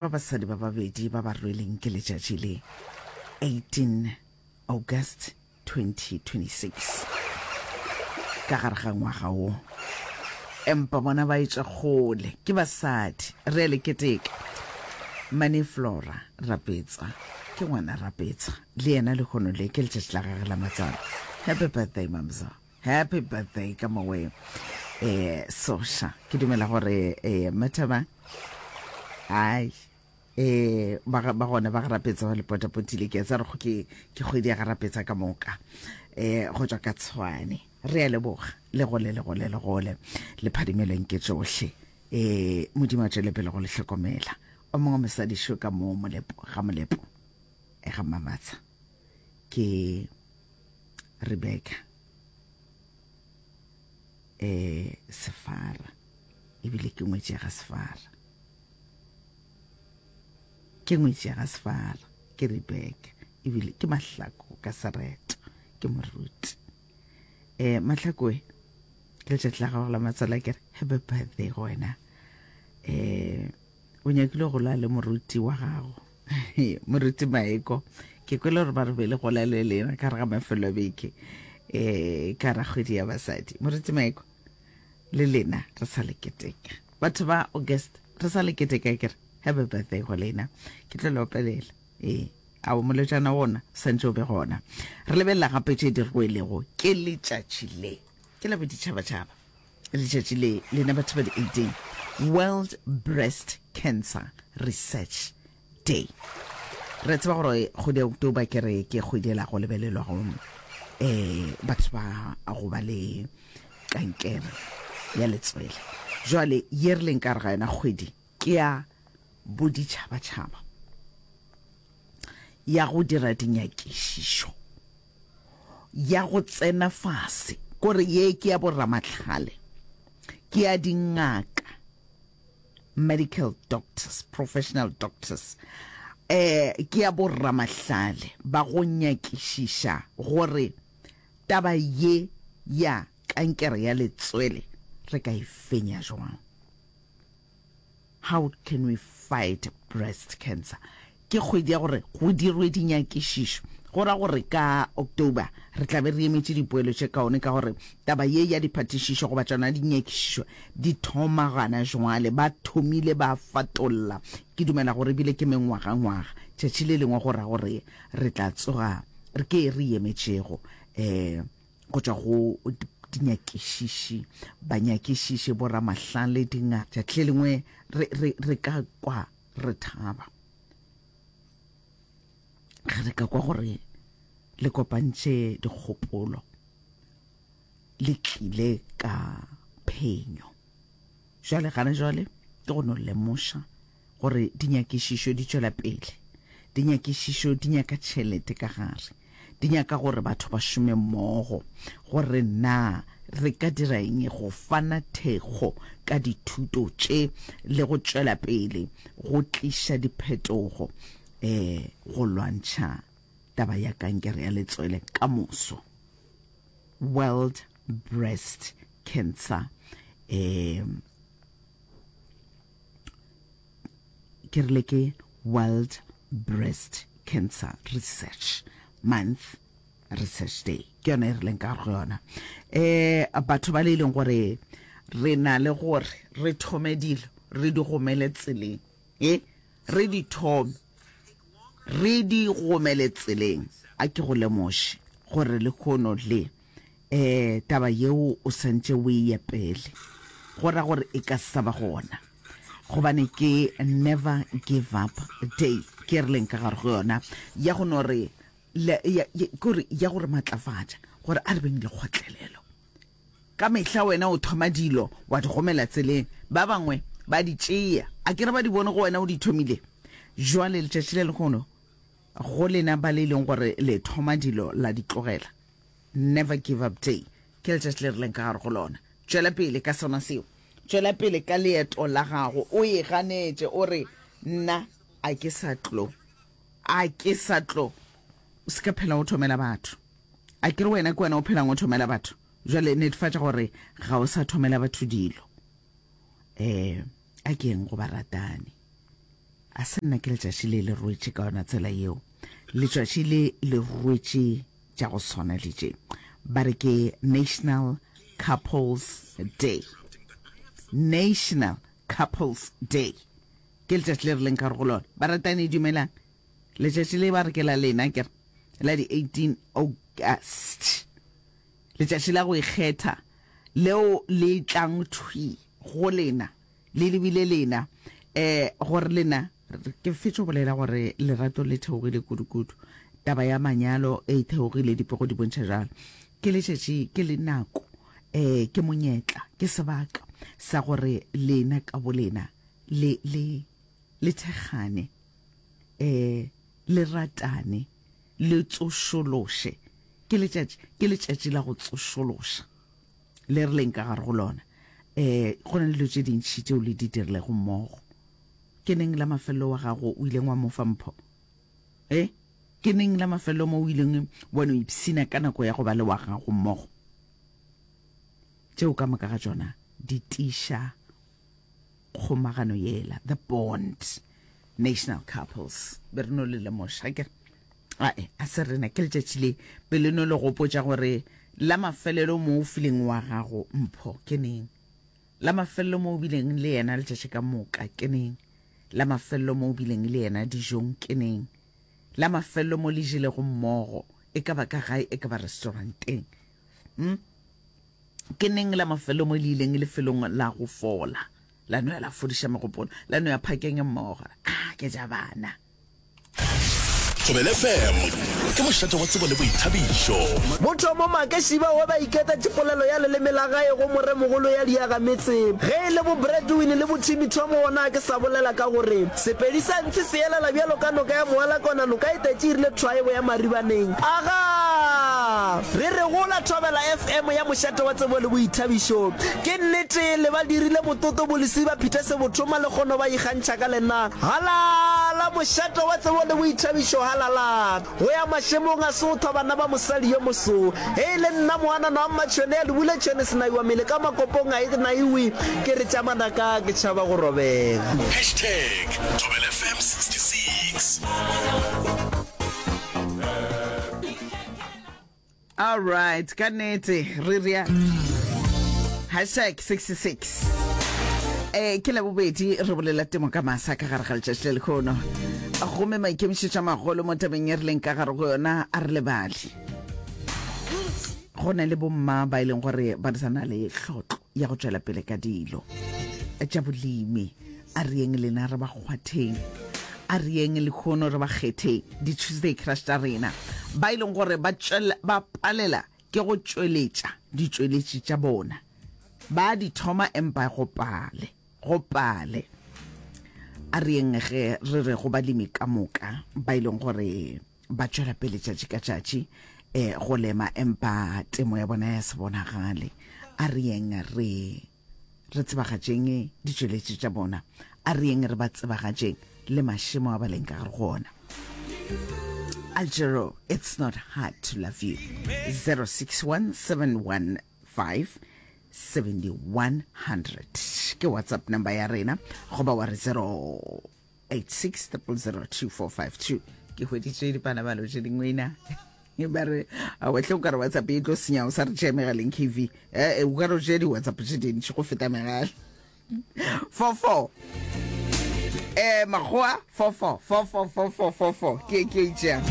Ba basadi ba babedi ba ba rweleng ke letšatši le, 18 August 2026, ka gare ga ngwaga wo. Empa bona ba etšwa kgole, ke basadi. Re a le keteka. Mane Flora Rapetsa, ke ngwana Rapetsa, le yena lehono le ke letšatši la gagwe la matswalo. Happy birthday, Mamzo. Happy birthday ka mowe eh Sosha. Ke dumela gore eh Mathaba ai eh ba ba gona ba garapetsa ba le potapotile ke tsa re go ke ke kgwedi ya garapetsa ka moka eh go tswa ka tshwane re a leboga le gole le gole le gole le phadimeleng ke tsohle eh modimo a tšwele pele go le hlokomela o mongwe mosadi šo ka mo molepo ga molepo e ga mamatsha ke Rebecca eh Sefara ebile ke ngwetši ya ga Sefara ke ngwetši ya ga Sefara ke Rebecca ebile ke mahlako ka sereto ke moruti eh mahlakoe ke letšatši la gago la matswalo ke re happy birthday go wena eh o nyakile go lwa le moruti wa gago moruti maeko ke kwele gore ba re be le gola le lena ka re ga mafelo a beke um ka ra kgwedi ya basadi moruti maeko le lena re sa le keteka batho ba august re sa le keteka kere happy birthday go lena ke tlo le opelela ee ao molotšana wona santse o be gona re lebelela gape tše di rwelego ke letšatši le ke la boditšhabatšhaba Letšatši le, lena batho ba di 18, World Breast Cancer Research Day. Re tseba gore kgwedi ya October ke re ke kgwedi ela go lebelelwa go eh batho ba go ba le kankere ya letswele. Jwale ye re leng ka re ga yona kgwedi ke ya boditšhabatšhaba ya go dira dinyakišišo ya go tsena fase, kore ye ke ya boramahlale, ke ya dingaka, medical doctors, professional doctors, eh, ke ya boramahlale ba go nyakišiša gore taba ye ya kankere ya letswele re ka e fenya jwang. How can we fight breast cancer? Ke kgwedi ya gore go dirwe dinyakišišo. Go ra gore ka October re tla be re emetše dipoelo tše kaone ka gore taba ye ya diphatišišo goba tšona dinyakišišo di thoma gana jwale. Ba thomile ba fatolla. Ke dumela gore ebile ke mengwagangwaga. Tšatši le lengwe go ra gore re tla tsoga re ke e re emetšego. Um go tšwa go dinyakišiši, banyakišiši, boramahlale, dingaka. Tšatši le lengwe re, re, re ka kwa re thaba ge re ka kwa gore le kopantše dikgopolo, le tlile ka phenyo. Jwale gana jwale ke go no lemoša gore dinyakišišo di tšwela pele. Dinyakišišo di nyaka tšhelete ka gare. Di nyaka gore batho ba šome mmogo gore na re ka dira eng go fana thekgo ka dithuto tše le go tšwela pele go tliša diphetogo um go lwantšha taba ya kankere ya letswele ka moso. World Breast Cancer um ke rile ke World Breast Cancer Research Month Research Day ke yona e rileng ka go yona um batho ba le e leng gore re na le gore re thome dilo re di gomele tseleng e re di thome re di gomele tseleng a ke go lemoše gore lehono le um taba yeo o santše o e epele go ra gore e ka sa ba gona gobane ke never give up day ke re leng ka gare go yona ya go no re kore ya gore matlafatša gore a re beng le kgotlelelo ka mehla wena o thoma dilo wa di gomela tseleng ba bangwe ba di tšea a ke re ba di bone go wena o di thomile jwale letšatši le lehono go lena ba le e leng gore le thoma dilo la di tlogela Never Give Up Day ke letšatši le re leng ka gare go lona. Tšwela pele ka sona seo. Tšwela pele ka leeto la gago. O e ganetše, o re, Nna a ke sa tlo. A ke sa tlo. O se ka phela o thomela batho. A ke re wena ke wena o phelang o thomela batho? Jwale netefatša gore ga o sa thomela batho dilo. Um a ke eng go baratani? A se nna ke letšatši le le rwetše ka yona tsela yeo. Letšatši le le rwetše tša go swana le tše. Ba re ke National Couples Day. National Couples Day. Ke letšatši le re leng ka go lona. Baratani dumelang. Letšatši le ba re ke la lena ke re la di 18 August. Letšatši la go ikgetha leo le tlang thwi go lena Le lebile lena, eh, gore lena, ke fetše go bolela gore lerato le theogile kudu-kudu. Taba ya manyalo e theogile, dipego di bontšha jalo. Ke letšatši, ke le nako, eh, ke monyetla, ke sebaka sa gore lena ka bolena le, le, le thekgane, eh, le ratane, le tsošološe. Ke letšatši, ke letšatši la go tsošološa. Le re leng ka gare go lona. Um go na le dilo tše dintši tšeo le di dirilego mmogo. Ke neng la mafelelo wa gago o ileng wa mo fa mpho? E? Ke neng la mafelelo mo o ileng wa no ipshina ka nako ya go ba le wa gago mmogo? Tšeo ka moka ga tšona di tiiša kgomagano yela, the bond. National couples. Be re no le lemoša, ke re. Ae, a se rena, ke letšatši le be le no le gopotša gore la mafelelo mo o fileng wa gago mpho ke neng. La mafelelo mo o bileng le yena letšatši ka moka ke neng. La mafelelo mo o bileng le yena dijong ke neng. La mafelelo mo le jelego mmogo, e ka ba ka gae, e ka ba restauranteng. Hmm? Ke neng la mafelelo mo le ileng lefelong la go fola, la no ya la fodiša megopolo, la no ya phakeng mmogo? Ah, ke ja bana. Thobela FM ke mošate wa tsebo le boithabišo. Bothomo Makešiba wa ba iketa tšipolelo ya leleme la gae go moremogolo ya diagametse. Ge e le bo Bradwin le bo Timmy Tom gona ke sa bolela ka gore Sepedi sa ntshe se elela bjalo ka noka ya Moalakona noka e tetše e rile thwaebo ya Maribaneng. Agaa! Re re gola Thobela FM ya mošate wa tsebo le boithabišo. Ke nnete le ba dirile mototo bo Lesiba Peter Sebothoma le kgono ba ikgantšha ka lena. Halala! Mošate wa tsebo le boithabišo, halala! Go ya mašemong a sothwa bana ba mosadi yo moso. Ge e le nna moanana wa Mmatšhwene ya Lubule tšhwene senaiwa mele ka makopong a e naiwe ke re tša manaka ke tšhaba go robega. Hashtag Thobela FM 66. All right, ka nnete re rea hashtag 66 eh ke labobedi re bolela temo ka masa ka gare ga letšatši le lekgono gomme maikemišetšo a magolo mo tabeng e re leng ka gare go yona a re lebale go na le bomma ba e leng gore ba sa na le hlotlo ya go tšwela pele ka dilo tša bolemi A re yeng lena re ba kgwatheng. A re yeng lehono re ba kgetheng, di-Tuesday Crush tša rena, ba e leng gore ba tšwela, ba palela ke go tšweletša ditšweletši tša bona. Ba di thoma empa go pale, go pale. A re yeng ge re re go balemi ka moka ba e leng gore ba tšwela pele tšatši ka tšatši eh, go lema empa temo ya bona ya se bonagale. A re yeng re Re tsebagatšeng ditšweletši tša bona. A re yeng re ba tsebagatšeng le mašemo a ba leng ka gare go ona. Aljero, it's not hard to love you. 061 715 7100 ke WhatsApp number ya rena goba wa re 086 000 2452 ke hweditše dipanabalo tše dingwe na ba re awetlhe o ka re whatsapp e tlo senya o sa re tšea megaleng kv ee o ka re o tšea di-whatsapp tše dintši go feta megala 44 eh makgowa 44 44 44 44 ke ke itšeang.